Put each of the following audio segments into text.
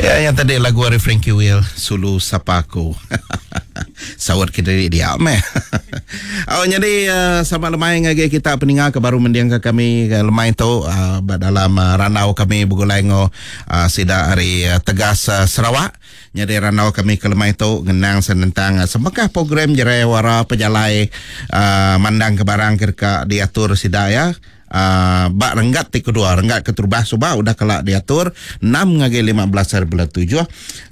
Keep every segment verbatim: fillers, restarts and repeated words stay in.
Ya, yang tadi lagu ari Frankie Will, Sulu Sapa Aku. Sawat kita dia meh. Oh, jadi uh, sama lemai ngagai kita peninga ke baru mendiang ke kami ke lemai tu uh, dalam uh, randau kami begulai ngo uh, sida hari uh, Tegas uh, Sarawak. Jadi randau kami ke lemai tu ngenang senentang uh, semekah program Jerayawara pejalai uh, mandang ke barang ke dekat diatur sida ya. Uh, bak renggat ti kedua, renggat keterubah suba udah kelak diatur enam ngagai lima belas hari bulan tujuh,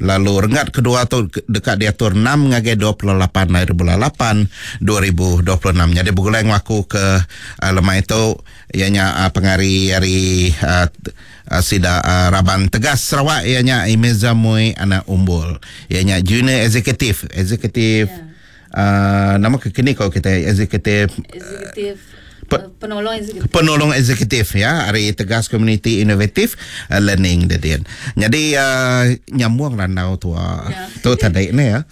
lalu renggat kedua tu dekat diatur enam ngagai dua puluh lapan hari bulan lapan dua ribu dua puluh enam. Jadi begulai ngaku ke uh, lemai tu ianya uh, pengari hari uh, uh, sida uh, Raban Tegas Sarawak, ianya Imeza Mui anak Umbul, ianya junior executive executive yeah. uh, nama kekini kalau kita executive executive Pe- penolong eksekutif. Penolong eksekutif ya, hari Tegas Community Innovative uh, Learning dedian. Jadi uh, nyambung randau tua ya. Tu tadi ni ya.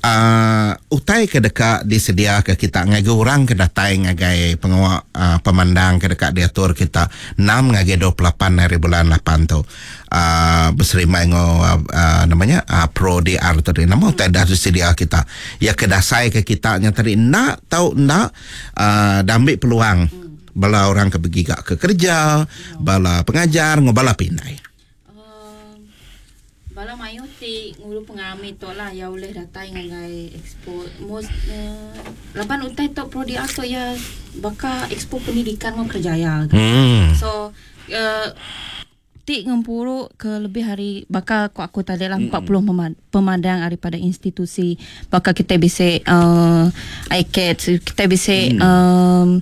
Uh, utai ke dekat disedia ke kita ngagai orang ke datai ngagai pengawak uh, pemandang ke dekat diatur kita enam ngagai dua puluh lapan hari bulan lapan tu. Uh, berserima ngo uh, uh, namanya uh, Pro D R tadi. Nama utai dah disedia kita. Ya kedasai ke kita nya tadi nak tahu nak uh, dah ambil peluang hmm. bala orang ke bergigak ke kerja, hmm. bala pengajar ngo bala pindai. Uh, bala mayu ti ngulu pengalami tu lah ya boleh datang ngagai expo most uh, laban utai tu Pro D R tu ya baka expo pendidikan ngo kerjaya. Hmm. So uh, ti ngempuru ke lebih hari bakal aku, aku tadi lah empat puluh pemadang daripada institusi bakal kita bisa uh, I C A T, kita bisa mm. um,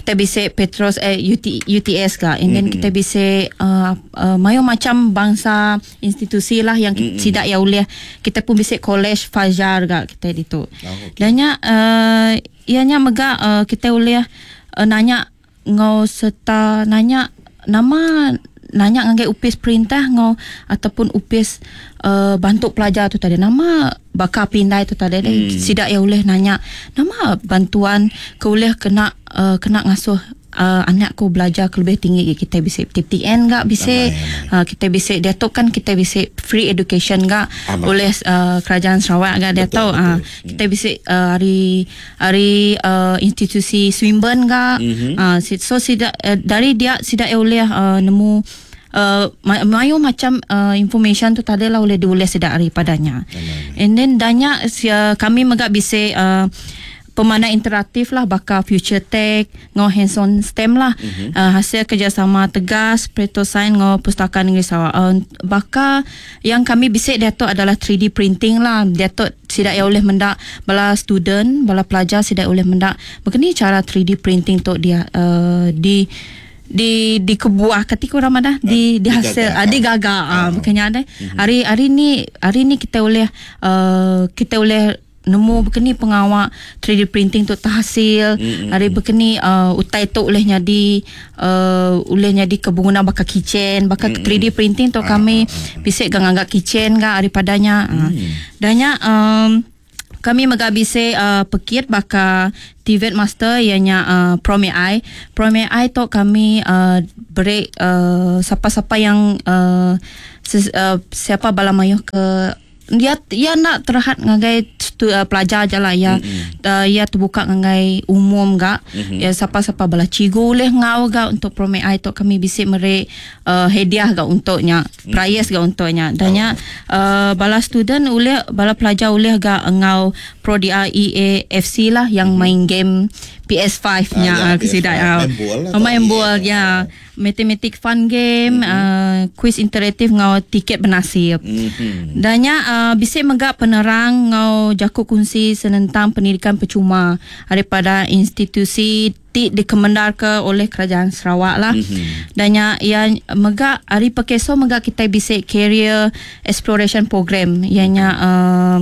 kita bisa Petros eh, U T, U T S kah, and then mm-hmm. kita bisa uh, uh, mayo macam bangsa institusi lah yang mm-hmm. sidak ya uliah. Kita pun bisa college Fajar gak kita itu. Oh, okay. Dannya uh, ianya mega uh, kita uliah uh, nanya ngau serta nanya nama nanya ngagai upis perintah ngau ataupun upis uh, bantu pelajar tu tadi nama bakal pindai tu tadi hmm. sidak ya boleh nanya nama bantuan ke boleh kena uh, kena ngasuh uh, anakku belajar ke lebih tinggi. Kita bisa T P T N gak bisa uh, kita bisa dia tu kan kita bisa free education gak oleh uh, kerajaan Sarawak gak dia tahu uh, kita bisa uh, hari hari uh, institusi Swinburne gak mm-hmm. uh, so sidak uh, dari dia sidak ya boleh uh, nemu Uh, mayu macam uh, information tu tadi lah oleh diulis sedak daripadanya. And then banyak uh, kami megak bisa uh, pemandang interaktif lah bakal future tech ngau hands on STEM lah mm-hmm. uh, hasil kerjasama Tegas Petrosains ngau Pustaka Negeri Sarawak. Uh, bakal yang kami bisa dia tu adalah three D printing lah. Dia tu sidak ya boleh mendak bala student bala pelajar sidak boleh mendak begini cara three D printing tu dia uh, di di di kebuah ketika orang mana di di hasil ah, di gaga ah bukannya ada hari hari ni hari ni kita boleh uh, kita boleh nemu bekeni pengawak three D printing tu terhasil mm-hmm. hari bekeni uh, utai tu oleh nyadi uh, oleh nyadi kebungunan bakal kitchen bakal mm-hmm. three D printing tu kami bisik gang anggap kitchen ga daripadanya mm. uh. Danya um, kami megabise uh, pekit baka T V E T Master ianya uh, Prom A I. Prom A I tu kami uh, beri uh, siapa-siapa yang uh, ses, uh, siapa bala mayuh ke dia ia nak terhad ngagai stu, uh, pelajar je lah ya mm-hmm. uh, ia terbuka ngagai umum gak mm-hmm. ya siapa-siapa bala cigu boleh ngau gak untuk Prom A I tu kami bisik mere uh, hadiah gak untuknya mm-hmm. prize gak untuknya dannya oh. uh, bala student boleh bala pelajar boleh gak ngau Pro D R E A F C lah yang mm-hmm. main game P S five nya ah, ya, ke sidak main bola ya matematik fun game mm-hmm. uh, quiz interaktif ngau tiket bernasib mm-hmm. Danya uh, bisik megak penerang ngau jakuk kunci senentang pendidikan percuma daripada institusi ti dikemendar ke oleh kerajaan Sarawak lah. Mm-hmm. Danya ia megak hari pekeso megak kita bisik career exploration program ianya uh,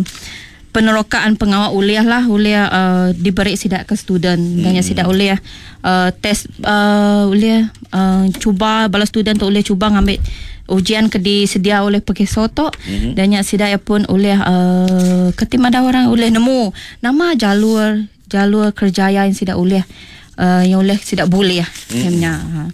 penerokaan pengawal uliah lah uliah uh, diberi sidak ke student hmm. Dan yang sidak uliah uh, test uh, uliah uh, cuba bala student tu uliah cuba ngambil ujian ke disedia oleh Pekeso tu mm-hmm. Dan yang sidak pun uliah uh, ketim ada orang uliah nemu nama jalur jalur kerjaya yang sidak uliah uh, yang uliah sidak boleh mm-hmm.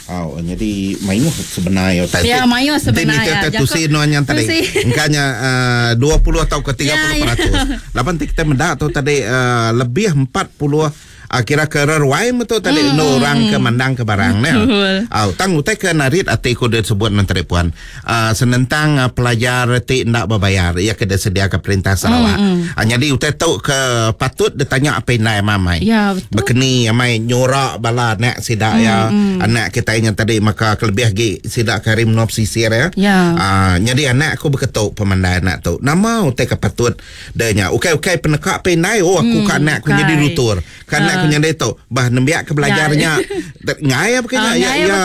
Ha. Oh, jadi mayuh sebenarnya tadi. Ya, mayuh sebenarnya. Jadi tusi nuan yang tadi. Engkanya uh, dua puluh atau ke tiga puluh peratus. Ya, ya. Lapan kita mendak tu tadi uh, lebih empat puluh kira ke reruai betul tadi mm. no orang ke mandang ke barang ne. Au tang utai ke narit ati ku disebut menteri puan. Uh, senentang uh, pelajar ti ndak berbayar ia ke disedia ke perintah Sarawak. Mm. Uh, jadi utai tu ke patut ditanya apa indai mamai. Ya, betul. Bekeni amai nyorak bala anak sidak mm. ya. Anak kita yang tadi maka kelebih lagi sidak karim nop sisir ya. Ya. Uh, jadi anak aku berketuk pemandai anak tu. Nama utai ke patut denya. Ukai-ukai penekak pe indai oh aku mm, ka anak aku jadi rutur. Ka anak aku nyadi tu bah nembiak ke belajarnya ngai apa kena ya ya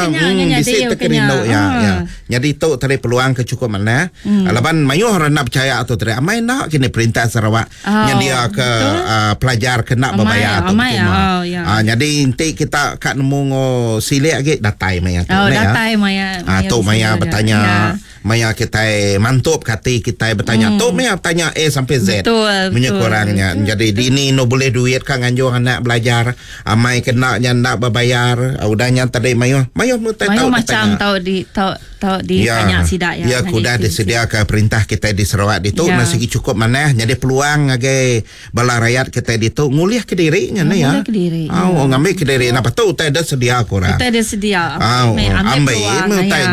bisi terkerindu ya ya. Jadi tu tadi peluang ke cukup mana laban mayuh orang nak percaya atau tadi amai nak kini perintah Sarawak nyedia ke pelajar kena berbayar tu cuma. Jadi nanti kita kat nemu ngo silik lagi datai maya tu ne. Datai maya. Ah tu maya bertanya maya kita mantup kati kita bertanya tu maya bertanya A sampai Z. Punya kurangnya. Jadi dini no boleh duit kan nganjung anak belajar amai kena nya nak berbayar udahnya tadi mayuh mayuh mu tahu macam tahu di tahu tahu ditanya sidak ya. Ya kuda disediakan perintah kita di Sarawak ditu ya. Nasi cukup mana jadi peluang ngagai bala rakyat kita ditu ngulih ke diri nya ne ya. Ngulih ke diri. Oh ngambil ke diri napa tu utai dah sedia kurang. Utai dah sedia. Ambil ambil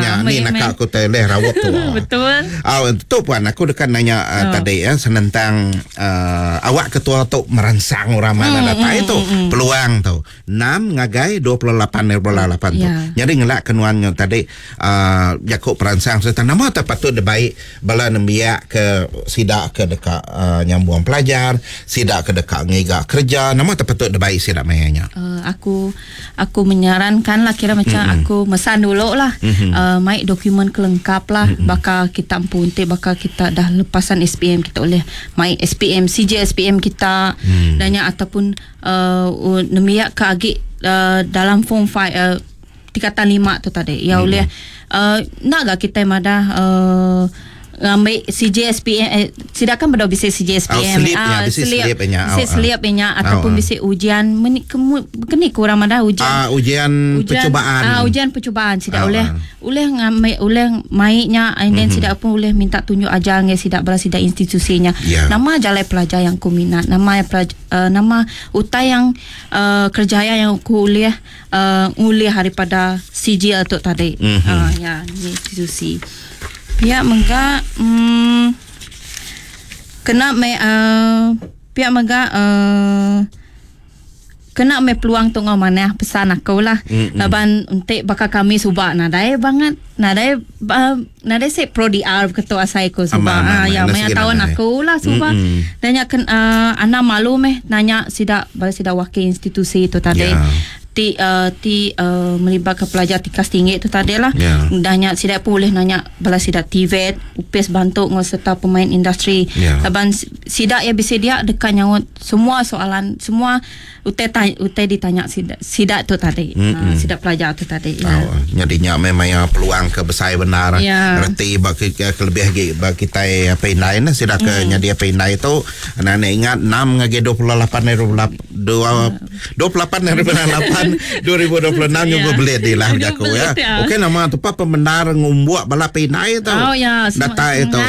nya ni nak aku teh leh rawat tu. Betul. Ah tu puan aku dekat nanya uh, oh. tadi ya senentang uh, awak ketua tu merangsang orang mana hmm, datang itu hmm, peluang tu enam ngagai dua puluh lapan bulan lapan tu. Yeah. Jadi ngelak kenuannya tadi uh, Jakub perangsang serta nama tak patut de baik bala nembiak ke sidak ke dekat uh, nyambung pelajar, sidak ke dekat ngiga kerja, nama tak patut de baik sidak mayanya. Uh, aku aku menyarankan lah kira macam mm-hmm. aku mesan dulu lah mm-hmm. uh, mai dokumen kelengkap lah mm-hmm. bakal kita empuntik bakal kita dah lepasan S P M kita boleh mai S P M C J S P M kita mm. dan ataupun uh, nemiak ke agi uh, dalam form lima uh, tingkatan lima tu tadi ya boleh mm-hmm. uh, nak gak kita madah uh, ngambil C J S P M eh, sidak kan benda bisa C J S P M oh, slip ah, bisa slip nya bisa slip nya ataupun oh, bisa ujian meni keni kurang madah ujian ah, ujian, ujian percubaan ah, ujian percubaan sidak oh, boleh boleh ngambil boleh maiknya and then mm-hmm. sidak pun boleh minta tunjuk ajar ngai sidak bala sidak institusinya yeah. Nama jalai pelajar yang ku minat nama pelajar, uh, nama utai yang uh, kerjaya yang ku ulih uh, ulih daripada C J L tu tadi mm-hmm. uh, ya institusi pihak mengga hmm, kena me uh, pihak mengga uh, kena me peluang tu ngau manah pesan aku lah mm-hmm. Laban entik bakal kami subak nadai banget nadai uh, nadai sik pro D R ketua asai ku subak ah ya maya tahun aku lah subak mm-hmm. Nanya ken uh, ana malu meh nanya sidak bala sidak wakil institusi tu tadi yeah. Ti uh, ti uh, melibatkan pelajar tikas tinggi tu tadi lah. Yeah. Dahnya sidak pun boleh nanya bala sidak T V E T, upis bantu ngau serta pemain industri. Yeah. Laban sidak ya bisa dia dekat nyaut semua soalan, semua utai tanya, utai ditanya sidak sidak tu tadi. Mm-hmm. Uh, sidak pelajar tu tadi. Ya. Oh, jadinya memang ya peluang ke besar benar. Yeah. Reti bagi kelebih lagi bagi kita apa indai nah sidak ke mm. nyadi apa indai tu anak-anak ingat enam ngagi dua puluh lapan dua puluh lapan lapan dua ribu dua puluh enam nyuba belit di lah jaku ya. Okey nama tu apa pembenar ngumbuak bala pinai tu. Oh ya, datai tu.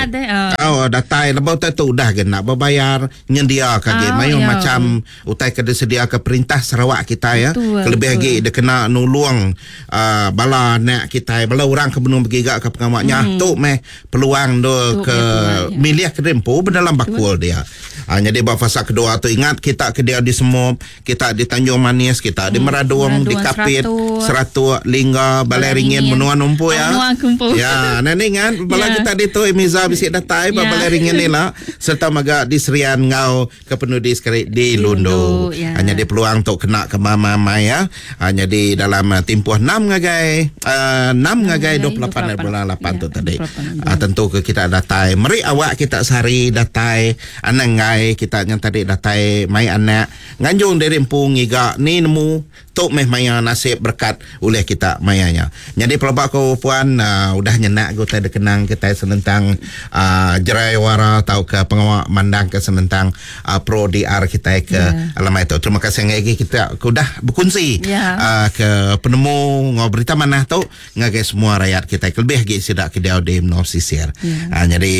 Oh datai lebau tu udah ke nak berbayar nyendia ka ge oh, mayu ya. Macam utai ke disedia ke perintah Sarawak kita ya. Betul, kelebih betul. Lagi dia kena nulung uh, bala anak kita bala orang ke benung bergigak ke pengamaknya hmm. Tu meh peluang tu ke peluang, ya. Milih ke dempu berdalam bakul dia. Ha, jadi buat fasa kedua tu ingat kita ke dia di Semop, kita di Tanjung Manis, kita di Meradong, di Kapit, Seratuk, Lingga, Balai Ringin, Menua Numpu ya. Menua Kumpu. Ya, nani ingat bala ya. Kita di tu Emiza bisik datai ya. Balai Ringin ni lah serta maga di Serian ngau ke penudi sekali di Lundu. Ya. Hanya di peluang untuk kena ke mama mai ya. Hanya di dalam uh, tempoh enam ngagai uh, enam ngagai dua puluh lapan bulan lapan tu tadi. Uh, tentu ke kita datai. Meri awak kita sehari datai anang ngai kita yang tadi datai mai anak nganjung dari empung ngiga ni nemu Tu meh maya nasib berkat oleh kita mayanya. Jadi pelabak ko puan uh, udah nyenak go tai dikenang kita senentang uh, jerayawara atau ke pengawak mandang ke senentang uh, pro D R kita ke yeah. Alam itu. Terima kasih lagi kita udah berkongsi yeah. uh, ke penemu ngau berita manah tu ngagai semua rakyat kita lebih lagi sidak ke dia di Menua Pesisir. Yeah. Uh, jadi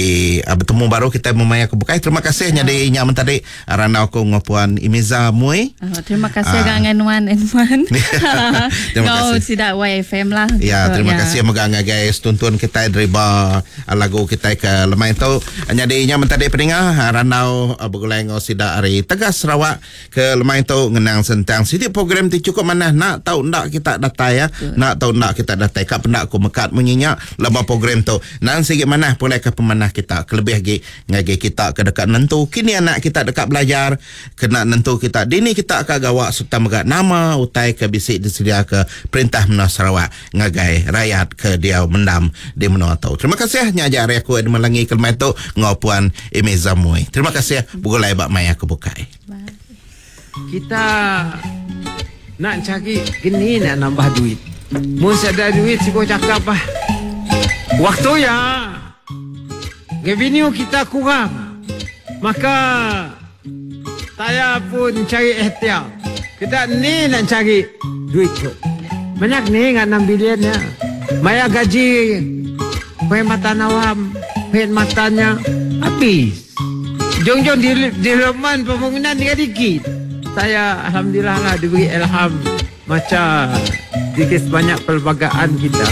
uh, bertemu baru kita memaya ke bukai. Terima kasih yeah. Jadi nyak tadi ranau ko ngau puan Imiza Mui. Uh, terima kasih uh, ngan Wan Edmund. Terima kasih. Sidak Y F M lah. Ya, terima ya. kasih moga ngagai tuntun kita dariba lagu kita ke lemai tu. Jadi nya mentadi peninga ranau bergulai ngau sidak hari Tegas Sarawak ke lemai tu ngenang sentang siti program ti cukup manah nak tahu nak kita datai ya. Betul. Nak tahu nak kita datai kap pendak ku mekat munyinya lama program tu. Nang sikit manah pulai ke pemanah kita kelebih lagi ngagai kita ke dekat nentu kini anak kita dekat belajar kena nentu kita dini kita ka gawak serta megak nama utai ke bisik disedia ke perintah Menua Sarawak ngagai rakyat ke dia mendam di menua tau. Terima kasih nya ajar aku di Melangi kelmai tu ngau puan Imiza Mui. Terima kasih bugulai bak mai aku bukai. Kita nak cari gini nak nambah duit. Mun ada duit sibuk cakap ah. Waktu ya revenue kita kurang. Maka saya pun cari ikhtiar. Kita ni nak cari duit tu. Banyak ni ngan enam bilion ya. Maya gaji perkhidmatan awam, perkhidmatannya habis. Jom-jom development pembangunan dia dikit. Saya alhamdulillah lah diberi ilham macam sedikit sebanyak perlembagaan kita.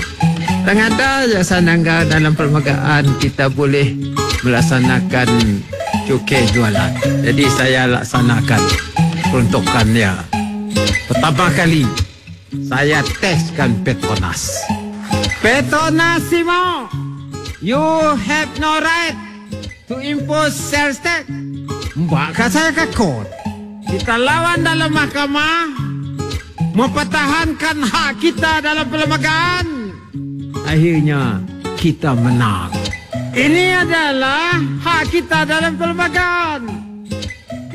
Dan ada jasa nangga dalam perlembagaan kita boleh melaksanakan cukai jualan. Jadi saya laksanakan peruntukannya. Pertama kali saya teskan Petronas. Petronas Simo, you have no right to impose sales tax. Mbak saya ke court. Kita lawan dalam mahkamah, mempertahankan hak kita dalam perlembagaan. Akhirnya kita menang. Ini adalah hak kita dalam perlembagaan.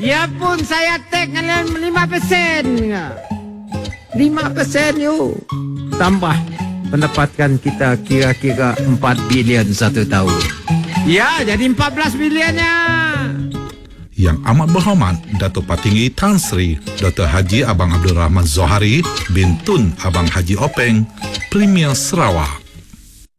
Ya pun saya take dengan lima peratus. lima peratus you. Tambah pendapatan kita kira-kira empat bilion satu tahun. Ya, jadi empat belas bilionnya. Yang amat berhormat Datuk Patinggi Tan Sri Doktor Haji Abang Abdul Rahman Zohari bin Tun Abang Haji Openg, Premier Sarawak.